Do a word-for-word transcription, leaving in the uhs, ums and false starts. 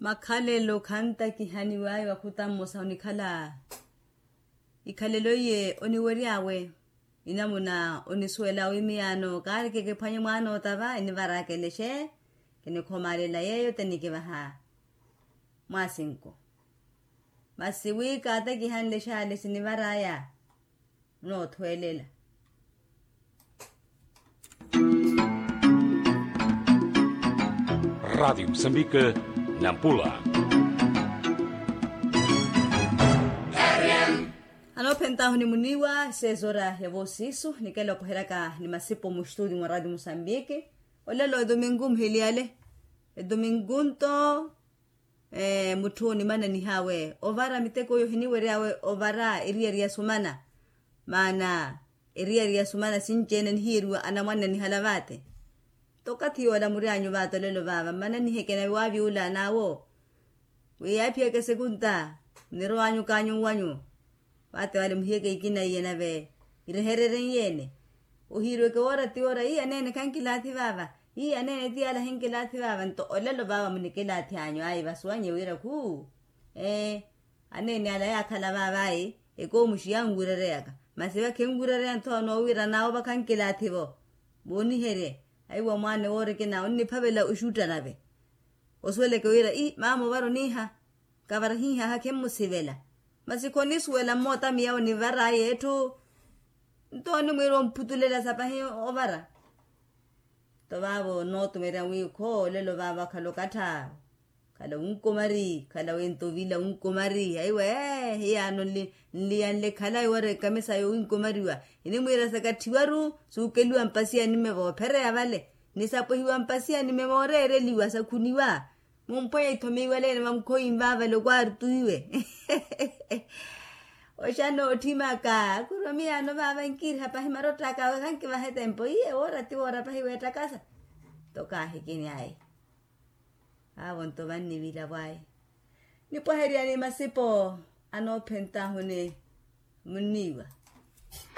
Makhalelo khantakihaniw'aya wakhuta mmosa onikhala. Ikhalelo iye oniwery'awe inamuna onisuwela wi miyaano kaareke kiphwanye mwaana otava enivar'aka elexe. Kinikhomalela yeeyo tenikivaha mwaasinku. Masi wi kaatakihanle xaale sinivar'aya. Noothwelela. Radiyo musambike. Nampula. Anoophentahu ni muniiwa seis horas ya voosiisu nikela okoheryaka ni masipo mustutio mwa radiyo musambike. Olelo edomingu muhiliyale. Edomingu nto mutthu onimananih'awe ovara miteko iyo hiniwery'awe ovara eriyari ya sumana. Maana eriyari ya sumana sinci-ene nihiyeriwa anamwane anihala vaate. Nto okathi yoola muryanyu vaate olelo vaava mmananiheke nave waavyuula n'awo. Wi yaaphiyeke sekunta nnirow'anyu kaanyuwanyu. Vaate vale muhiyeke ikina iye nave irehererye iyene. Ohiiriweke woora ti woora ii aneene khankilaathi vaava. Ii aneene ti yaala hinkilaathi vaava nto olelo vaava munikilaathi anyu ayi vasuwanye wira khuu. Ee aneene ala yaakhala vaava ayi ekoomuxi yanwirereyaka. Masi vakhenwirereya nthowa noowira naawo vakhankilaathi-vo. Vooniherye ayi wa mwaane woorikina onniphavela oxutta nave. Osuweleke wira ii maama ovara oniiha. Kavara hiihaha khimmusivela. Masi khonisuwela mmoota miyawo nivar'aya etthu. Nto onimwiira omphutulela sapahi ovara. Nto vaavo nootumerya wi khoolelo vaavo akhala okattha. Khala wunkomari khala wento ovila wunkomari aiwe. Hiyaano nliyanle khala iwara ekamisa yowunkomariwa. Inimwiira sakatthiwaru suukeliwa mpasiya nimme voophereya vale. Nisapwehiwa mpasiya nimme mooreereliwa sakhuniwa. Mumphwanya ithomiwaleene vamukhoyini vaavale okwaarituwiwe. Oxana ootthimaka akuru amiyaano vaava nkiiriha pahi marott'aka awe khankivaha etempo iye woora ti woora pahi weettakasa. Nto kaahikini ayi. Vaavo nto vannivila vwaya nipwaherya ni masipo anoophentahu ni munniiwa.